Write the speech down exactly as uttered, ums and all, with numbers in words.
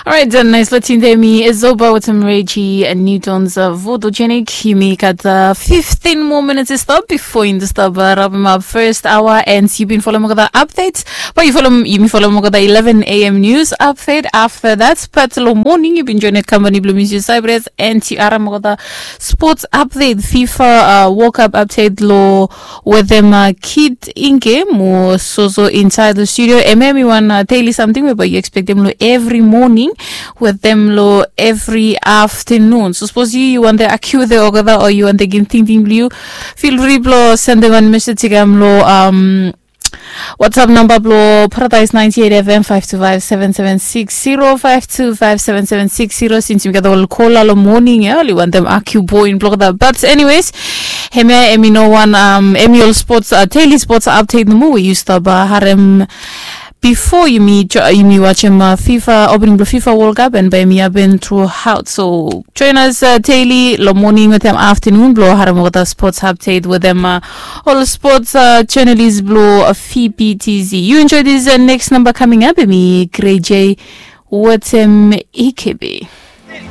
Alright, dan nais latin de mi Ezoba with some Reggie and Newton's uh, Vodogenik. Yumi gat uh, fifteen more minutes to stop before in the stop uh, wrap him up first hour, and you been following the updates. But you follow you follow the eleven a.m. news update. After that, but lo morning you been joined company blue music Cyprus and you are the sports update, FIFA uh, World Cup update lo with them uh, kid in game or so so inside the studio. And maybe one uh, daily something where you expect them lo every morning with them lo every afternoon. So suppose you you want the accuse the ogada or you want the game thinking blue. Feel free blo send them one message to them lo um WhatsApp number blo Paradise ninety-eight F M five two five seven seven six zero five two five seven seven six zero since you got all call all morning yeah you want them argue point block that. But anyways, hemia emi no one um emi all sports uh, daily sports update no more we used to uh, harem before you meet you me watch him uh, FIFA opening blo FIFA World Cup and by me I've been throughout. So join us uh, daily lo morning with them afternoon blo harem with the sports update with them uh, all sports uh, journalist blo uh, F B T Z. You enjoy this uh, next number coming up. Me Grey J. What's um E K B?